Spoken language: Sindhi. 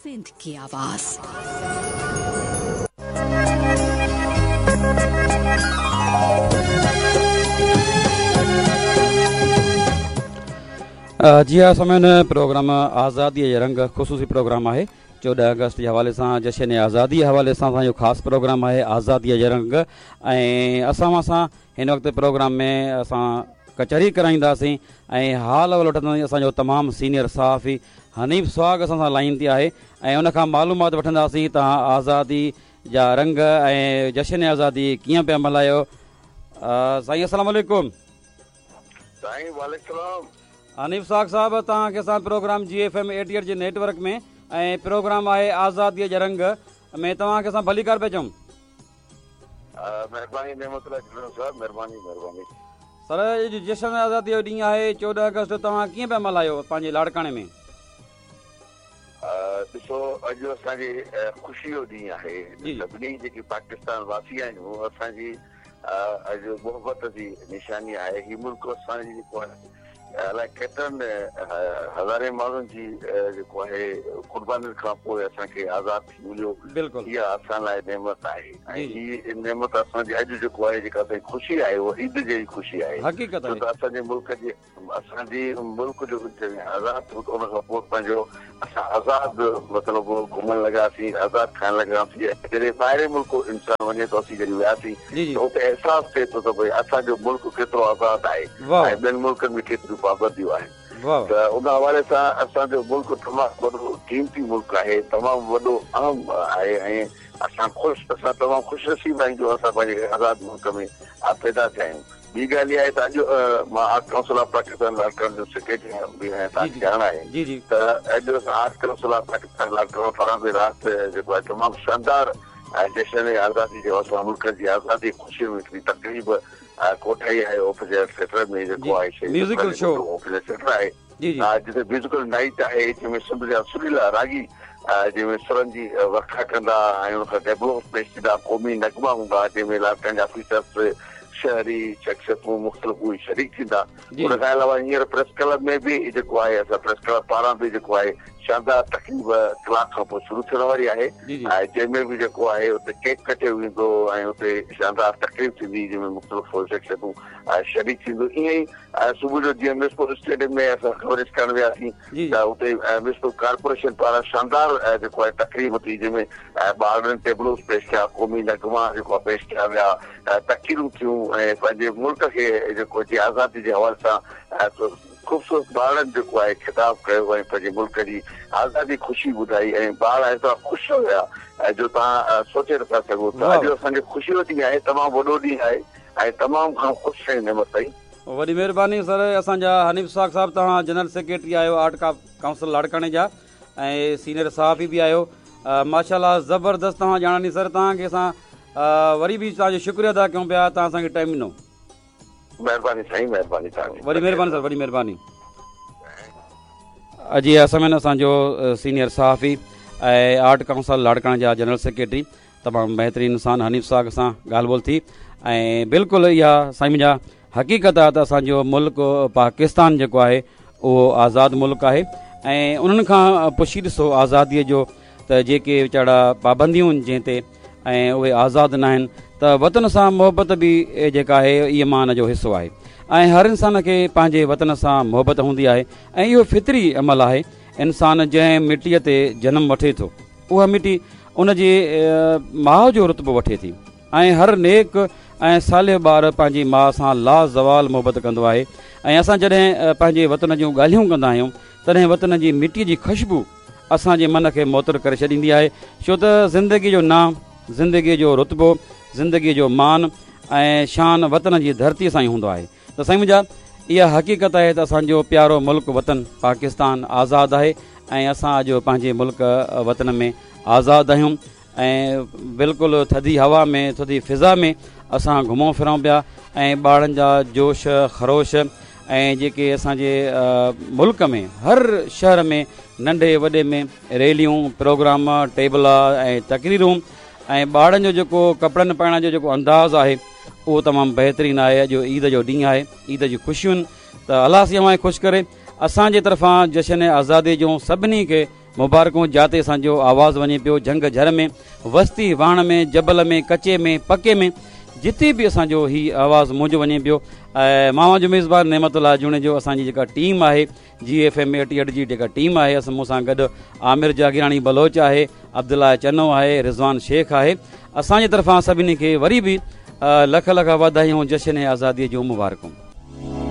سنڌ ڪي آواز. جي ها سامعين پروگرام آزادي جي رنگ خصوصي پروگرام آهي 14 آگسٽ جي حوالي سان جشن آزادي جي حوالي سان اسان جو خاص پروگرام آهي آزادي جي رنگ ۽ اسان اوهان سان هن وقت پروگرام ۾ اسان ڪچهري ڪرائينداسين ۽ حال احوال وٺنداسين اسان جو تمام سينيئر صحافي حنيف سهاڳ اسان سان لائين تي آهي ۽ ان کان معلومات وٺنداسين توهان آزادي جا رنگ ۽ جشن آزادي ڪيئن پيا ملهايو سائين السلام عليڪم. سائين وعليڪم السلام. حنيف سهاڳ صاحب توهان کي اسان پروگرام جي ايف ايم 88 جي نيٽ ورڪ ۾ ۽ پروگرام آهي آزادي جا رنگ ۾ توهان کي اسان ڀليڪار پيا چئون. مھرباني نعمت الله جھلڻ صاحب مھرباني مھرباني. سر اڄ جشن آزادي جو ڏينهن آهي 14 آگسٽ توهان ڪيئن پيا ملهايو پنهنجي لاڙڪاڻي ۾. ڏسو اڄ اسان جي خوشي جو ڏينهن آهي سڀني جيڪي پاڪستان واسي آهيون اسان جي اڄ محبت جي نشاني آهي هي ملڪ اسان جي جيڪو آهي الائي ڪيترن هزارين ماڻهن جي جيڪو آهي قربانين کان پوء اسان کي آزاد ٿي مليو اها اسان لاء نعمت آهي ۽ هي نعمت اسان جي اڄ جيڪو آهي جيڪا اسان جي خوشي آهي اها عيد جهڙي خوشي آهي ڇو ته اسان جي ملڪ جي اسان جي ملڪ جو جڏهن آزاد ٿيو ته ان کان پوء پنهنجو اسان آزاد مطلب گهمڻ لڳاسين آزاد کائڻ لڳاسين جڏهن ٻاهرين ملڪ انسان وڃي ٿو اسين جڏهن وياسين ته اتي احساس ٿئي ٿو ته ڀئي اسان جو ملڪ ڪيترو آزاد آهي ۽ ٻين ملڪن ۾ ڪيتريون پابنديون آهن ته ان حوالي سان اسان جو ملڪ تمام وڏو قيمتي ملڪ آهي تمام وڏو اهم آهي ۽ اسان خوش اسان تمام خوش نصيب آهيون جو اسان پنهنجي آزاد ملڪ ۾ پيدا ٿيا آهيون. ٻي ڳالهه اها آهي ته اڄ مان آرٽ ڪائونسل آف پاڪستان لاڙڪاڻي جو سيڪريٽري به آهيان توهان کي ڄاڻ آهي ته اڄ اسان art council of Pakistan Larkana پاران به رات جيڪو آهي تمام شاندار جشن آزادي جي حوالي سان ملڪ جي آزادي جي خوشي ۾ هڪڙي تقريب ڪوٺائي آهي اوپن ايئر ٿيٽر ۾ جيڪو آهي شهيد اوپن ايئر ٿيٽر آهي جتي ميوزيڪل نائيٽ آهي جنهن ۾ سنڌ جا سريلا راڳي جنهن ۾ سرن جي ورکا ڪندا ۽ ان کان ٽيبلوز پيش ٿيندا، قومي نغما هوندا جنهن ۾ لاڙڪاڻي جا آفيسرس، شهري شخصيتون مختلف اهي شريڪ ٿيندا. ان کان علاوه هينئر پريس ڪلب ۾ به جيڪو آهي اسان پريس ڪلب پاران به جيڪو آهي شاندار تقريب ڪلاڪ کان پوء شروع ٿيڻ واري آهي ۽ جنهن ۾ به جيڪو آهي اتي ڪيڪ ڪٽيو ويندو ۽ اتي شاندار تقريب ٿيندي جنهن ۾ مختلف شخصيتون شريڪ ٿينديون ائين ئي ۽ صبح جو جيئن ميرپور اسٽيڊيم ۾ اسان ڪوريج ڪرڻ وياسين ته اتي ميرپور ڪارپوريشن پاران شاندار جيڪو آهي تقريب ٿي جنهن ۾ ٻارڙن ٽيبلوز پيش ڪيا قومي نغما جيڪو آهي پيش ڪيا ويا تقريرون ٿيون ۽ پنهنجي ملڪ کي جيڪو جي آزادي جي حوالي سان خوبصورت ٻارڙن جيڪو آهي خطاب ڪيو ۽ پنهنجي ملڪ جي آزادي خوشي ٻڌائي ۽ ٻار ايترا خوش هيا جو توهان سوچي نٿا سگهو ته اڄ اسان جي خوشي جو ڏينهن آهي تمام وڏو ڏينهن آهي ۽ تمام گهڻو خوش آهيون نعمت سائين. وڏي مهرباني سر اسان جا حنيف سهاڳ صاحب توهان جنرل سيڪريٽري آهيو آرٽ ڪائونسل لاڙڪاڻي جا ۽ سينئر صحافي به آهيو ماشاءالله زبردست توهان ڄاڻ ڏني سر توهان کي اسان وري به توهان جو شڪريو ادا ڪيون پيا توهان اسان کي ٽائيم ڏنو. مهرباني سائين مهرباني توهان جي. وڏي مهرباني سر وڏي مهرباني. جي سامعين اسان جو سينئر صحافي ۽ آرٽ ڪائونسل لاڙڪاڻي جا جنرل سيڪريٽري تمام بهترين انسان حنيف سهاڳ سان ڳالهه ٻولهه ٿي ۽ بلڪل اها سائين منهنجا حقيقت آهي ته اسان جو ملڪ پاڪستان جيڪو آهي اهو آزاد ملڪ آهي ۽ انهن کان پڇي ڏسو آزاديء جو ته جيڪي ويچارا پابنديون جنهن تي ۽ اهي آزاد نه آهن ته وطن سان محبت به جيڪا آهي ايمان جو حصو آهي ۽ هر انسان کي پنهنجي وطن سان محبت هوندي آهي ۽ اهو فطري عمل آهي انسان جنهن مٽيء تي جنم وٺي ٿو اها مٽي ان جي ماء جو رتبو وٺي ٿي ۽ هر نيڪ ۽ صالح ٻار پنهنجي ماء سان لازوال محبت ڪندو آهي ۽ اسان جڏهن پنهنجي وطن جون ڳالهيون ڪندا آهيون تڏهن وطن جي مٽي جي خوشبو اسان جي من کي معطر ڪري ڇڏيندي آهي ڇو ته زندگي جو نانء زندگي جو رتبو زندگي جو مان ۽ شان وطن جي ڌرتي سان ئي هوندو آهي ته سائين منهنجا اها حقيقت آهي ته اسان جو پيارو ملڪ وطن پاڪستان آزاد آهي ۽ اسان اڄ پنهنجي ملڪ وطن ۾ آزاد آهيون ۽ بلڪل ٿڌي هوا ۾ ٿڌي فضا ۾ اسان گهمون ڦرون پيا ۽ ٻارن جا جوش خروش ۽ جيڪي اسان جي ملڪ ۾ هر شهر ۾ ننڍي وڏي ۾ ريليون پروگرام ٽيبلا ۽ تقريرون ۽ ٻارن جو جيڪو ڪپڙن پائڻ جو جيڪو انداز آهي اهو تمام بهترين آهي اڄ عيد جو ڏينهن آهي عيد جون خوشيون ته الله سائين اوهان کي خوش ڪري اسان جي طرفان جشن آزادي جون سڀني کي مبارڪون جاتي اسان جو آواز وڃي پيو جهنگ جهر ۾ وستي واهڻ ۾ جبل ۾ ڪچي ۾ پڪي ۾ جتي به اسان جو هي آواز منهنجو وڃي پيو ۽ مان اوهان جو ميزبان نعمت الله جوڻيجو اسان جي جيڪا ٽيم آهي جي ايف ايم ايٽي ايٽ جي جيڪا ٽيم آهي اسان مون سان گڏ عامر جاگيراڻي بلوچ آهي عبدالله چنو آهي رضوان شيخ آهي اسان جي طرفان سڀني کي وري به لک لک واڌايون جشن آزادي جون مبارڪون.